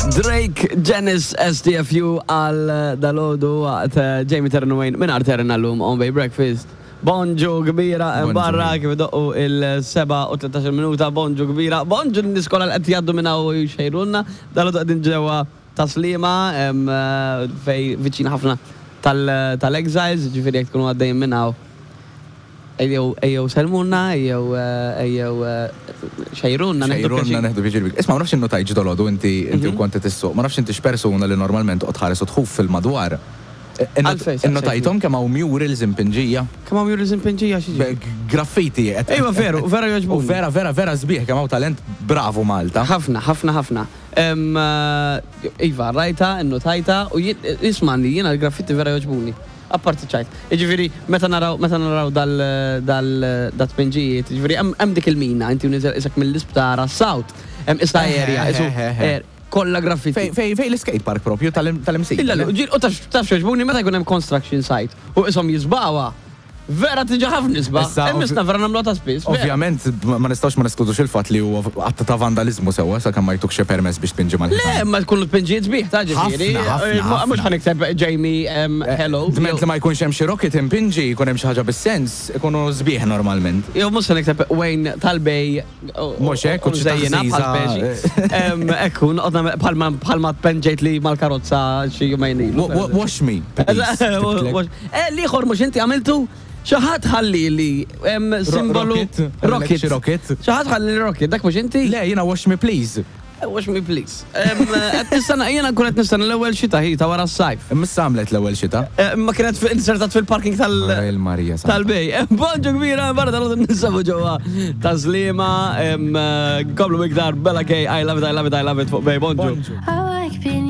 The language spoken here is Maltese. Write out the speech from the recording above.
Drake Janice STFU għal dalodu waqt eh, Jamie Terren Wayne minn Arterna l-lum on Bay Breakfast. Bonġu kbira hemm barra kif idoqqu il-7 u 13 minuta, bonġu kbira, bonġu lin-nies kollha li qed jgħaddu minn hawn u jxejrulna. Dalgħodu qegħdin ġewwa Tas-Sliema fejn viċin ħafna tal-Exiles, jiġifieri jekk tkunu għaddejjin minn hawn ejjew ejjew sellmulna, ejjew ejjew xejrulna nieħdu pjaċir. Xejrulna nieħdu pjaċir bik. Isma' ma nafx innutajtx dalgħodu inti inti u kont qed issuq, ma nafx intix persuna li normalment toqgħod tħares u tħuf fil-madwar. Innotajthom kemm hawn murals impinġija? Kemm hawn murals impinġija x'jiġifieri? Graffiti. Ejwa veru, vera jogħġbuni. U vera vera vera sbieħ kemm hawn talent bravu Malta. Ħafna, ħafna, ħafna. Iva, rajtha, innotajtha u ismagħni jiena l-graffiti vera jogħġbuni. Apparti ċajt. Jiġifieri meta naraw meta naraw dal dal dat-tpinġijiet, jiġifieri hemm dik il-mina inti u nieżel qisek mill-isptar għas-South. Hemm qisha area, qisu Kollha graffiti. Fejn fejn fejn l-iskate park propju tal-Imsida. Illa ġil u taf taf x'għoġbuni meta jkun hemm construction site u qishom jiżbgħuha. Vera tiġi ħafna isba'. Issa Imma issa vera nagħmluha ta' spiss. vera. Ovvjament ma nistgħux ma neskludux il-fatt li huwa att ta' vandaliżmu sewwa sakemm ma jtukx xi permess biex tpinġi Le, mal-ħitan. imma tkunu tpinġijiet sbieħ ta' ġifieri. Ħafna, ħafna, Mhux ħafna. ħa nikteb Jamie hello. Dment li ma jkunx hemm xi rocket impinġi, jkun hemm xi ħaġa bis-sens, ikunu sbieħ normalment. Jew mhux se nikteb Wayne tal-Bay Mhux hekk, u Mżejjina bħal speċi. Ekku, noqgħod bħalma bħalma tpenġejt li mal-karozza xi jumejn ilu. Wash me, please. Eh, l-ieħor mhux inti għamiltu? Xi ħadd ħalli li simbolu. Rocket. Rocket. Xi ħadd ħalli rocket, dak mhux inti? Le, jiena wash me please. Wash me please. Qed nistenna, jiena nkun qed nistenna l-ewwel xita hi ta' wara s-sajf. Imma issa għamlet l-ewwel xita. Imma kienet insertat fil-parking tal. Il-Marija. Tal-bej. Bonġu kbira, barra tal ninsabu ġewwa ta' Sliema, komplu iktar Bella K, I love it, I love it, I love it fuq Bay. Bonġu.